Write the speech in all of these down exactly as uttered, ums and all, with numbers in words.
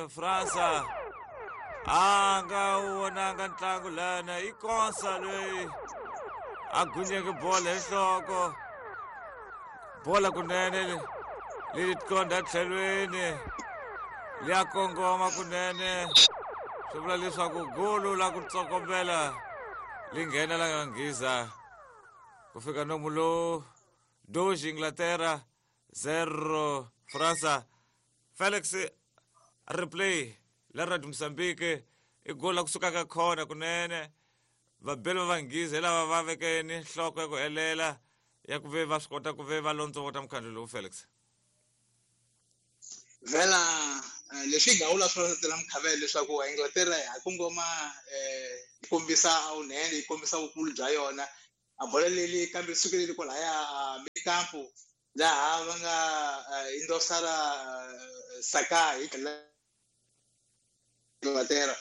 Fransa a nga wu vonanga ntlangu lana i Konsa loyi a gunyeke bola hi nhloko bola kunene leri tlonda tlhelweni liya kongoma kunene swi vula leswaku golo la ku tsokombela li nghena la nga nghiza ku fika nomu lowu dois Inglaterra zero Fransa. Felix replay la Radio Mozambique i golo la kusuka ka khona kunene vabeli va vanghiza hi lava va vekeni nhloko ya ku helela ya ku ve va swi kota ku ve va londzovota mukhandlu lowu Felix. Vela leswi nga vula swona tela mukhavelo leswaku Inglaterra ha kongoma yi kombisa vunene yi kombisa vukulu bya yona a bola leli kambe sukeleli kwalaya mikampu laha va nga endosara Saka hi tlhela Inglaterra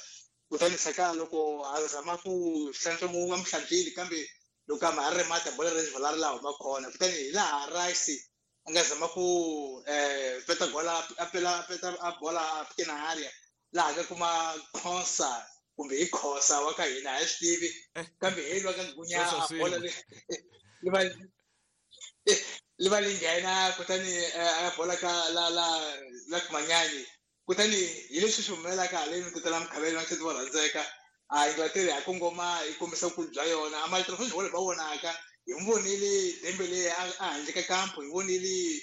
kutani Saka loko a zama ku hlantswa mu va mu hlantswile kambe loko a ma ha ri mati bola ri vala ri laha huma kona kutani hi laha Rice a nga zama ku peta gola a pela peta a bola a pkena area laha nga kuma Konsa kumbe hi Khosa wa ka hina a hi swi tivi kambe hi lwa ka gunya a bola li va li va li nghena kutani a bola ka la la la Manyanyi kutani hi leswi swi humelelaka haleni ku tala mukhavelo na va rhandzeka a Inglaterra ha kongoma yi kombisa vukulu bya yona a mali va vonaka hi n'wi vonile Dembele a handle ka kampo hi vonile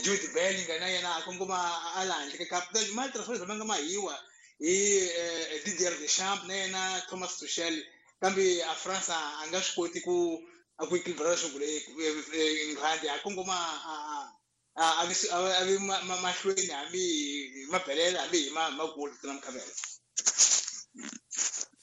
Jude Bellingham na yena a kongoma a la handle ka kampo kutani mali ma nga mahiwa hi Didier Deschamps na yena Thomas Tuchel kambe a France a nga swi koti ku a ku equilibrate leswaku England a kongoma a a a vi mahlweni hambi hi mabelela hambi hi magoli na mukhavelo.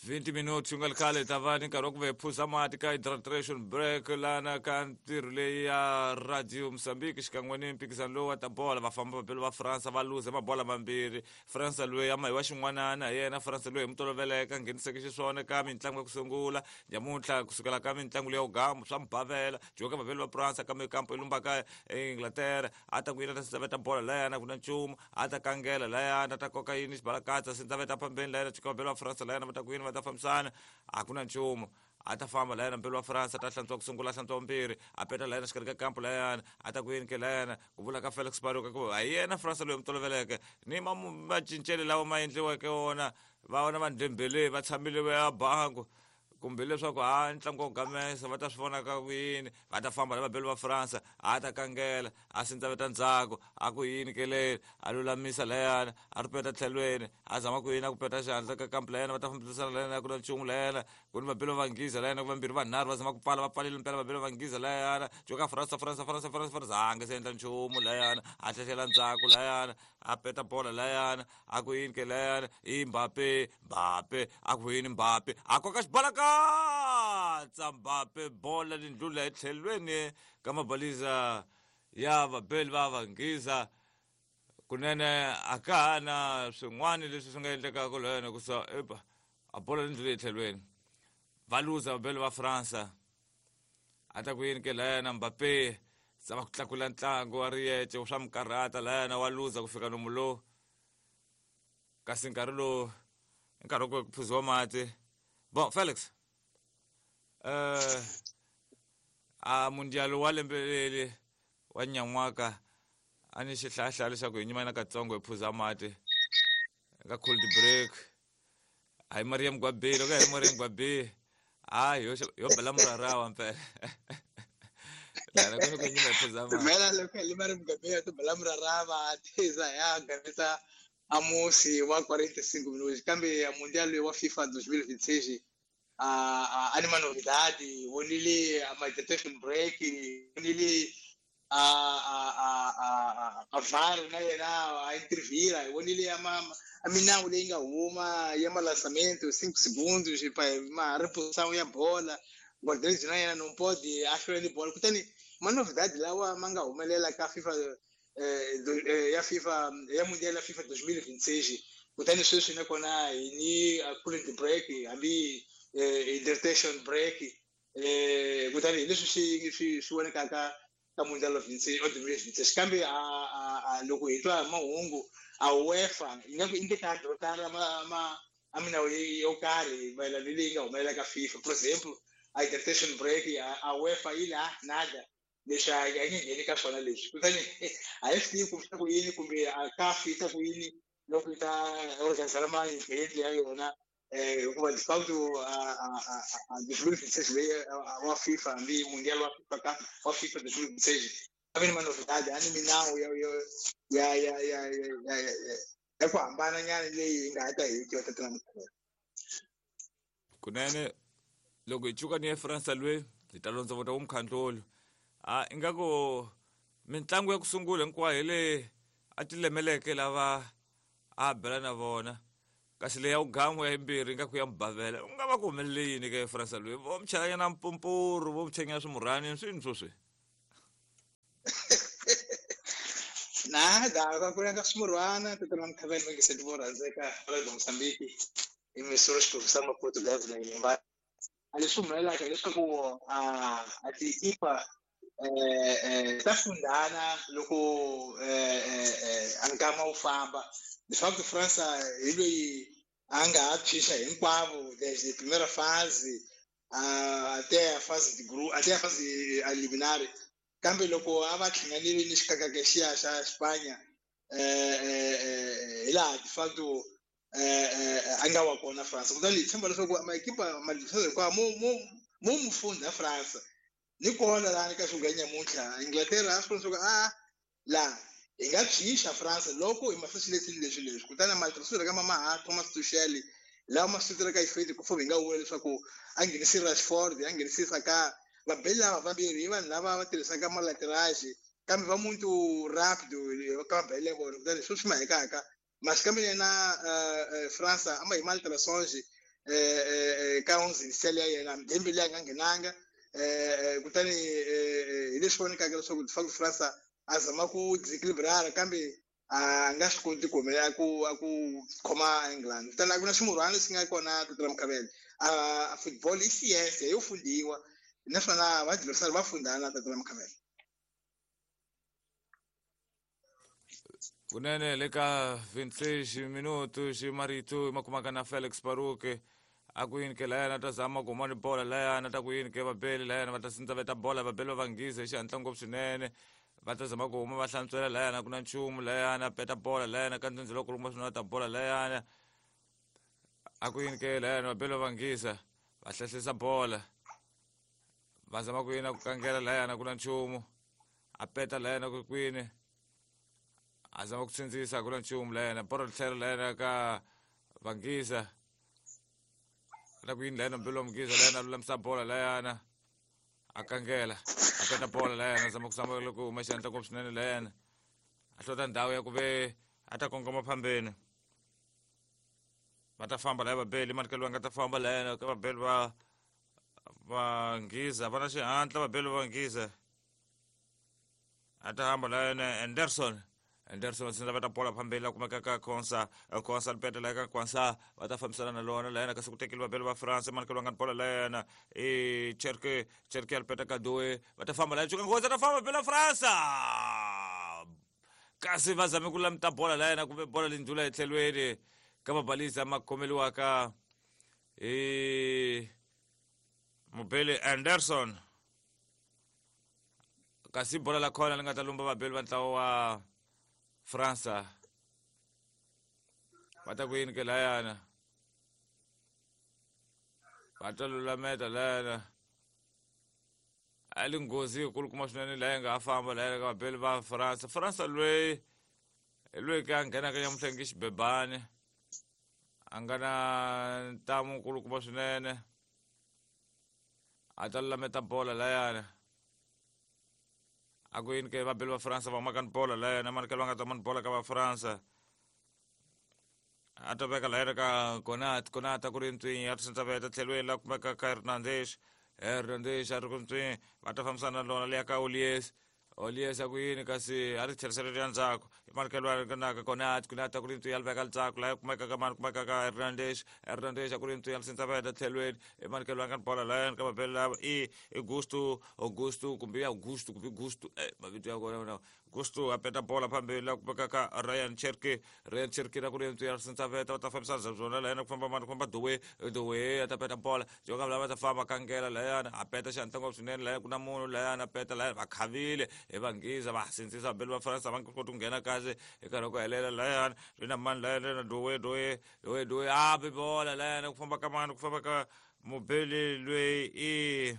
twenty minutes nga khale ta va ni nkarhi wa ku ve phuza mati ka hydration break lana ka ntirho leyi ya Radio Mozambique xikan'we ni mphikizano lowu wa ta bola va famba vabeli va Fransa va luze mabola mambirhi Fransa loyi a mahiwa xin'wanana hi yena Fransa loyi hi mutoloveleka ngheniseke xiswona ka mitlangu ya ku sungula nyamuntlha kusukela ka mitlangu leyi ya ugamu swa mubavela joka vabeli va Fransa kambe kampo ilumbaka Inglaterra a ta ku yina ta sindzaveta bola layana ku na nchumu a ta kangela layana ta koka yini xibalakatsa sindzaveta phambeni layana joka vabeli va Fransa layana va ta ku yini va ta fambisana a ku na nchumu a ta famba layana mpelo wa Fransa ta hlantswa ku sungula hlantswa vumbirhi a peta layana xikarhi ka kampo layana a ta ku yini ke layana ku vula ka Felix Baruka ku a yena Fransa loyi mutoloveleke ni macincelo lawa ma endliweke wona va vona va Dembele va tshamile va ya bangu kumbe leswaku ha ntlangu wa ku gamesa va ta swi vona ka ku yini va ta famba na vabeli va Fransa a ta kangela a sindzaveta ndzhaku a ku yini keleni a lulamisa layana a ri peta tlhelweni a zama ku yini a ku peta xihatla ka kampu layana va ta fambisana layana ku na nchumu layana ku ni vabeli va vanghiza layana ku vambirhi vanharhu va zama ku pfala va pfalile mpela vabeli va vanghiza layana joka Fransa Fransa Fransa Fransa Fransa a nga se endla nchumu layana a tlhehlela ndzhaku layana a peta bola layana a ku yini ke layana i Mbappe Mbappe a ku yini Mbappe a koka xibalakatsa Mbappe bola lindlula etlhelweni ka mabaliza ya vabeli va vanghiza kunene a ka ha na swin'wana leswi swi nga endlekaka layana ku sa epa a bola lindlula etlhelweni va luza vabeli va Fransa a ta ku yini ke layana Mbappe zama ku tlakula ntlangu wa riyece swa mikarhata layana wa luza ku fika nomu lowu kasi nkarhi lowu nkarhi wa ku phuziwa mati bon Felix eh a mundial wa lembe leri wa nyan'waka a ni xihlahla leswaku hi nyimana katsongo hi phuza mati ka cold break a hi Mariam Gwabe loko hi Mariam Gwabe a yo yo bela murarawa mpela lana ku ku nyima hi phuza mati vela loko hi Mariam Gwabe to bela murarawa tiza ya gamisa amusi wa quarenta e cinco minutos kambe a mundial wa FIFA dois mil e vinte e seis a a anima novidade vonile a meditation break vonile a a a a a VAR na yena a intervira vonile a ma a minawu leyi nga huma ya malançamento cinco segundos pa ma reposição ya bola Guardiola na yena não pode a hlwela ni bola kutani ma novidade lawa ma nga humelela ka FIFA eh, ya FIFA ya mundial ya FIFA dois mil e vinte e seis kutani sweswi nakona hi ni cooling break hambi hydration break eh kutani hi leswi swi swi swi vonekaka ka Mundial of dois mil e vinte e seis. Kambe a a loko hi twa mahungu a UEFA yi nga ku i ta adotara ma ma a minawu yo karhi mayelana ni leyi nga humelela ka FIFA. For example, a hydration break a UEFA yi la nada leswi a yi nge ngheni ka swona leswi. Kutani a hi swi tivi ku swi ta ku yini kumbe a CAF yi ta ku yini loko yi ta organizela ma-event ya yona hikuva de facto a dois mil e vinte e seis leyi wa FIFA hambi Mundial wa FIFA wa FIFA dois mil e vinte e seis a vi ni manovidade a ni minawu ya ya ya ya ya ya ya ku hambana nyana leyi hi nga ha ta hi twa tatana Mkhulu. Kunene loko hi cuka ni ya France lwe hi ta londzovota wumkhandlolo a ingaku mintlangu ya ku sungula hinkwayo hi leyi a ti lemeleke lava a bela na vona kasi leyi ya wugamu ya yimbirhi ingaku ya mubavela u nga va ku humelele yini ka France lwe vo mi chelanyana mpumpuru vo mi chanyana swimurhani swini swoswi nada ku ka swimurhwana tatana Mkhavela va nge vo rhandzeka ra Mozambique i misoro xiphemu Maputo governor va a leswi humelelaka hileswaku a a ti-equipa eh ta fundana loko eh a nkama wu famba. De facto França hi loyi a nga ha phyisa hinkwavo desde primeira fase até a fase de grupo até a fase eliminar. Kambe loko a va hlanganile ni xikakaka xiya xa Spanya eh hi laha de facto eh a nga wa kona France. Kutani hi tshemba leswaku maekipa ma hinkwawo mo mo mo mufundha France ni kona laha ka swilo nyamuntlha Inglaterra a swi vona leswaku a laha hi nga phyisa France loko hi masisi leswi leswi leswi. Kutani matirhiselo ka mamaha Thomas Tuchel lawa ma sukelaka ifeti ku hi nga vula leswaku a nghenisi Rashford a nghenisi Saka vabeli lava vambirhi i vanhu lava va tirhisaka malaterage kambe va muntu rapido ka vabeli vona. Kutani sweswi mahekaka mas kambe yena France a ma hi malterações ka onze initial ya yena Dembele a nga nghenanga kutani hi leswi vonekaka leswaku de facto France a zama ku desequilibrar kambe a nga swi koti ku humelela ku a ku khoma England. Kutani a ku na ximurhwana lexi nga kona tatana Mkhavela a football i science yo fundiwa naswona va va fundana tatana Mkhavela. Kunene le ka vinte e seis minutos marito ma kumaka na Felix Baruke a ku yini ke layana ta zama ku huma ni bola layana ta ku yini ke vabeli layana va ta sindza veta bola vabeli va vanghiza hi xihatla ngopfu swinene va ta zama ku huma va hlantswela layana ku na nchumu layana peta bola layana ka ndzindzi loko luma swinene ta bola layana a ku yini ke layana vabeli va vanghiza va hlahlisa bola va zama ku yini ku kangela layana ku na nchumu a peta layana ku kwini a zama ku tsindzisa ku na nchumu layana bolo tlhelo layana ka vanghiza na ku yini layana mbelo wa mughiza layana lulamisa bola layana a kangela a peta bola layana zama ku zama loko huma xandla ngopfu swinene layana a hlota ndhawu ya ku ve a ta kongoma phambeni va ta famba laya vabeli manikelo va nga ta famba layana ka vabeli va vanghiza va na xihatla vabeli va vanghiza a ta hamba layana Anderson Anderson sindza va ta bola phambeni la kumeka ka Konsa Konsa peta la ka Konsa va ta fambisana na lona layana kasi ku tekeli vabeli va France manikelo va nga bola layana i Cherke Cherke al peta ka Doe va ta famba laya cuka nghozi ta famba vabeli va France kasi va zame ku lamta bola layana kumbe bola leyi ndlula etlhelweni ka mabalisa ma khomeliwaka hi mubeli Anderson kasi bola la khona li nga ta lumba vabeli va ntlawa wa França va ta ku yini ke layana va ta lulameta layana a li nghozi yikulukumba swinene laya nga ha famba layana ka vabeli va França. França loyi hi loyi ke a nghenaka nyamuntlha nge xibebani a nga na ntamu nkulukumba swinene a ta lulameta bola layana a ku yini ke vabeli va France va humaka ni bola layana manikelo va nga ta mani bola ka va France a ta veka layana ka Konat Konat a ku ri ntswinyi a ti veta tlhelweni la kumeka ka Hernandez Hernandez a ri ku ntswinyi va ta fambisana na lona leya ka Olies Oliesa ku yini kasi a ri tlherisela ya ndzhaku imanikelo naka kona kunata ku ri ntsu ya veka ndzhaku laha kumeka ka mani kumeka ka Hernandez Hernandez ku ri ntsu ya sintsaveta tlhelweni imanikelo nga bola laha ka mabele lava i Augusto Augusto kumbe Augusto kumbe Gusto eh mavito ya kona na Gusto a peta bola phambili la kumeka ka Ryan Cherki Ryan Cherki ku ri ntsu ya sintsaveta va ta fambisa byona laha ku famba mani ku famba Dowe Dowe a ta peta bola joka lava ta famba kangela laha a peta xantla ngopfu swinene laha ku na munhu laha a peta laha va khavile hi vanghiza va sindzisa vabeli va Faransa va nga koti ku nghena kahle hi nkarhi wa ku helela layani ri na mani layani na Dowe Dowe Dowe Dowe a bi bola layani ku famba ka mani ku famba ka mubeli loyi i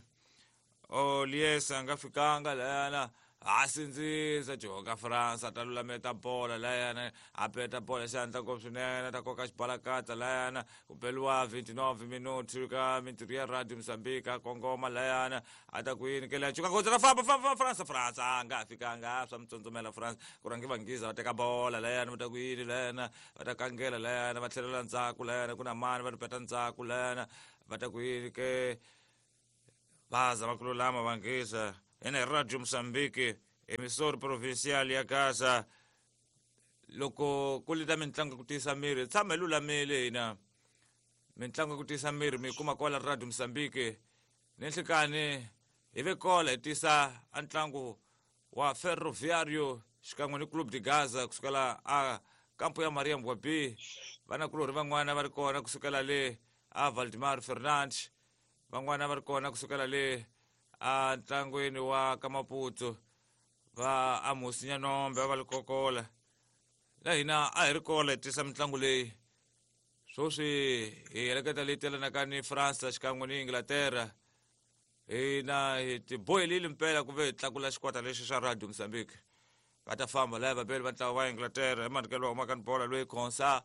Oliesa a nga fikanga layana a sindzisa joka Faransa ta lulameta bola layana a peta bola xandla ngopfu swinene ta koka xibalakatsa layana ku beliwa twenty-nine minuti ka mintirho ya Radio Mozambique a kongoma layana a ta ku yini ke leya cuka ngotsi ta famba famba Faransa Faransa a nga fikanga swa mitsondzomela Faransa ku rhange vanghiza va teka bola layana va ta ku yini layana va ta kangela layana va tlhelela ndzhaku layana ku na mani va ri peta ndzhaku layana va ta ku yini ke va zama ku lulama vanghiza ene Radio Mozambique emissora provincial ya Gaza loko ku lita mintlangu ku tiyisa miri tshama hi lulamile hina mintlangu ku tiyisa miri mi kuma kwala Radio Mozambique ni nhlikani hi ve kola hi tisa a ntlangu wa Ferroviario xikan'we ni Clube de Gaza kusukela a kampo ya Maria Mbwabi vanakulorhi van'wana va ri kona kusukela le a Valdemar Fernandes van'wana va ri kona kusukela le a ntlangwini wa Kamaputo va Amos Nyanombe va Likokola la hina a hi ri kola hi tisa mitlangu leyi sweswi hi heleketa leyi telanaka ni France xikan'we ni Inglaterra hina hi tibohelile mpela ku ve hi tlakula xikwata lexi xa Radio Mozambique va ta famba laya vabeli va ntlawa wa Inglaterra hi manikelo wa humaka ni bola loyi Khonsa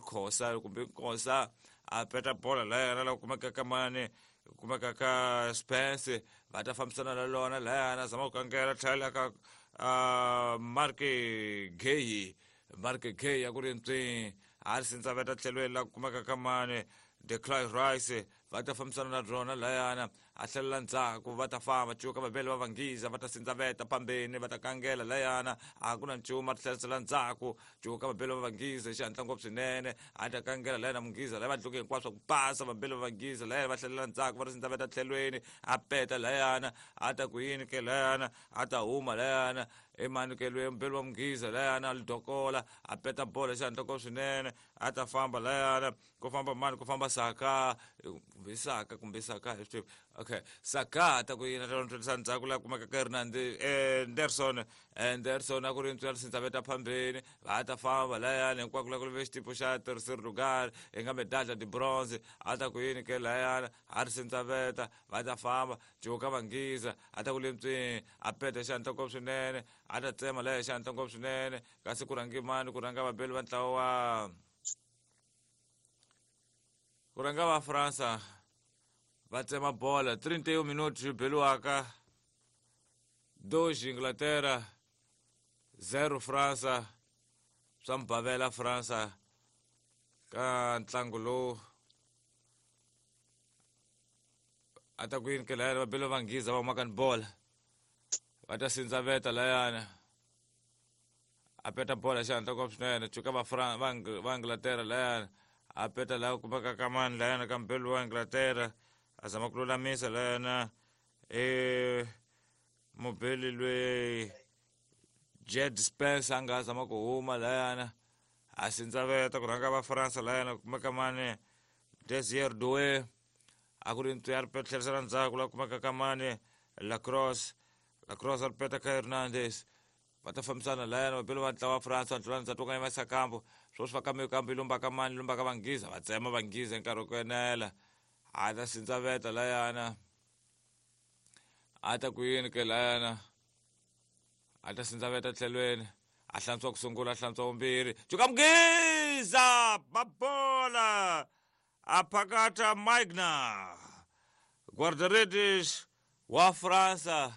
Khosa kumbe Khosa a peta bola laya la kumeka ka mani kumeka ka Spence va ta fambisana na lona layana zama ku kangela tlhela ka Mark Gay Mark Gay ya ku ri ntswi a ri sindzaveta tlhelweni la kumeka ka mani Declan Rice va ta fambisana na rona layana a tlhelela ndzhaku va ta famba cuka vabeli va vanghiza va ta sindzaveta phambeni va ta kangela layana a ku na nchumu a tlherisela ndzhaku cuka vabeli va vanghiza hi xihatla ngopfu swinene a ta kangela layana munghiza laya va dluke hinkwaswo ku pasa vabeli va vanghiza layana va tlhelela ndzhaku va ri sindzaveta tlhelweni a peta layana a ta ku yini ke layana a ta huma layana emanukelweni mubeli wa munghiza layana a lidokola a peta bola hi xihatla ngopfu swinene a ta famba layana ku famba mani ku famba Saka kumbe Saka kumbe Saka okay Saka ta ku yina ta ndzhaku laha kumeka ka Hernandez Anderson Anderson a ku ri ntswela sindzaveta phambeni va ta famba layana hinkwako la ku ve xitipo xa terceiro lugar hi nga medalha de bronze a ta ku yini ke layana a ri sindzaveta va ta famba joka vanghiza a ta ku le ntswini a peta xandla ngopfu swinene a ta tsema laya xandla ngopfu swinene kasi ku rhange mani ku rhanga vabeli va ntlawa wa ku rhanga va Faransa va tsema bola trinta e um minutos beliwaka dois Inglaterra zero Fransa swa mbavela Fransa ka ntlangu lowu a ta ku yini ke layana vabeli va vanghiza va humaka ni bola va ta sindzaveta layana a peta bola xihatla ngopfu swinene cuka va va Inglaterra layana a peta laha kumeka ka mani layana ka mbeli wa Inglaterra a zama ku lulamisa layana e mubeli loyi Jed Spence a nga zama ku huma layana a sindzaveta ku rhanga va Faransa layana kumeka mani Desire Doue a ku ri ntsu ya ri tlherisela ndzhaku laha kumeka ka mani Lacrosse Lacrosse a ri peta ka Hernandez va ta fambisana layana vabeli va ntlawa wa Faransa ntlulani ndzhaku ka yimisa kambo sweswi va kambe kambe lumba ka mani lumba ka vanghiza va tsema vanghiza hi nkarhi wa ku enela a ta sindzaveta layana a ta ku yini ke layana a ta sindzaveta tlhelweni a hlantswa ku sungula a hlantswa vumbirhi cuka mughiza babola a phakata Magna guarda-redes wa Faransa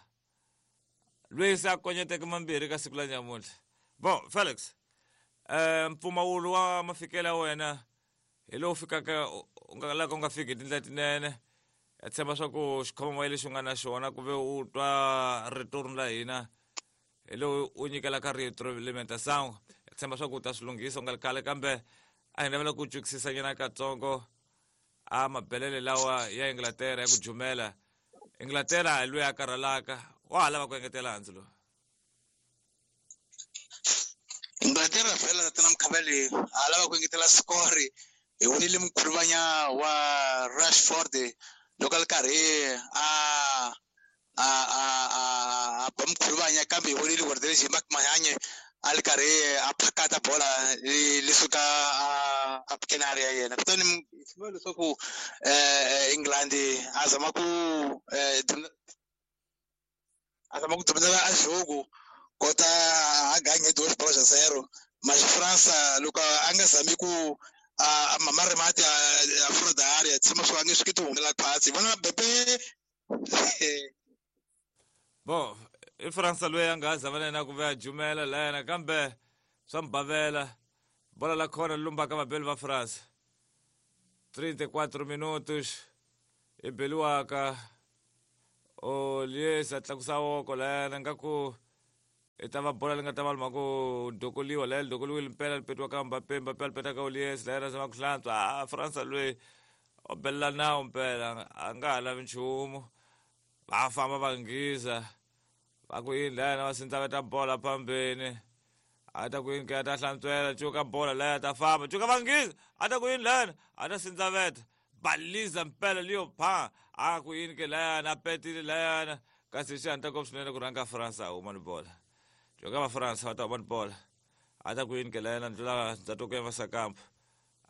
loyi se a konyeteke mambirhi ka siku la nyamuntlha bon Felix eh mpfumawulo wa mafikelo ya wena hi lowu fikaka u nga laka u nga fiki hi tindlela tinene ya tshemba swa ku xikhomamoya lexi u nga na xona ku ve u twa rito la hina Hi lowu u nyikelaka retroalimentação. Tshemba swa ku u ta swi lunghisa u nga ri khale, kambe a hi navela ku twisisa nyana katsongo a mabelele lawa ya Inglaterra ya ku jumela. Inglaterra hi loyi a karhalaka, wa ha lava ku engetela handzu lowu. Inglaterra vhela tatana Mkhabele a lava ku engetela score. Hi vonile mkhuluvanya wa Rashford loko a ri karhi a a a a ba mkhuluvanya, kambe hi vonile Guardiola Mark Mahanye a ri karhi a phakata bola le suka a kenari ya yena. Kutani swi leswaku England a zama ku a zama ku dominela a jogo kota a ganhe dois bolas a zero, mas França loko a nga zami ku a mamare mati a fora da área, tshama swi nge swi koti ku humela khwatsi vona Mbappé. Bo i França loyi a nga ha zama na yena ku ve a jumela la yena, kambe swa mbavela bola la khona lumbaka vabeli va France. trinta e quatro minutos i beliwaka Olies a tlakusa voko la yena, nga ku i ta va bola li nga ta va luma ku dokoliwa la, li dokoliwile mpela li petiwa ka Mbappé, Mbappé a li peta ka Olies la yena zama ku hlantswa. A França loyi o belela nawu mpela, a nga ha lavi nchumu. Va famba va nghiza va ku yini la yena, va sindzaveta bola phambeni, a ta ku yini ke a ta hlantswela cuka bola la ya ta famba cuka va nghiza, a ta ku yini la yena, a ta sindzaveta baliza mpela liyo pha, a ku yini ke la yena, a petile la yena, kasi xi hatla ngopfu swinene ku rhanga França a huma ni bola. Cuka va França va ta huma ni bola, a ta ku yini ke la yena, ndlula ndzhato ku yavasa kampo,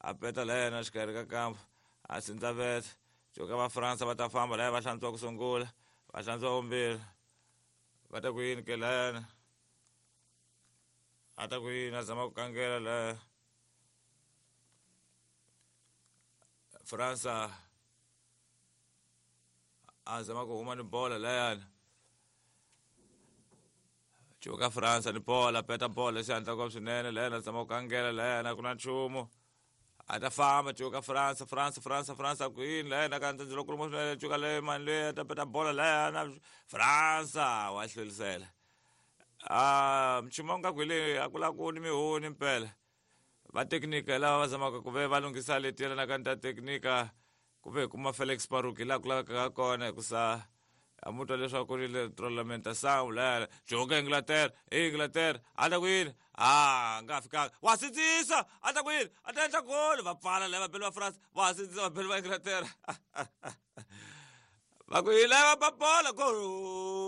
a peta la yena xikarhi ka kampo, a sindzaveta cuka va França va ta famba la ya, va hlantswa ku sungula, va hlantswa vumbirhi, va ta ku yini ke la yena, a ta ku yini a zama ku kangela la França a zama ku huma ni bola la yana. Cuka França ni bola, peta bola xi hatla ngopfu swinene la yena, zama ku kangela la yena, ku na nchumu. A ta famba cuka França, França, França, França ku yini la yena, ka ndzilo lokulu swinene cuka le mani leyi a ta peta bola la yana, França wa hlwelisela. Ah, nchumu nga ku hi leyi a ku la ku ni mihuni mpela. Va teknika lava va zamaka ku ve va lunghisa leti yelanaka ni ta teknika ku ve hi kuma Felix Paruki laha ku lavekaka kona, hikusa a mu twa leswaku ri retroalimentação la yena. Cuka Inglaterra, Inglaterra a ta ku yini, a nga fikanga wa sindzisa, a ta ku yini, a ta endla goli, va pfala la vabeli va France, va sindzisa vabeli va Inglaterra. Va ku yini la va ba bola gol.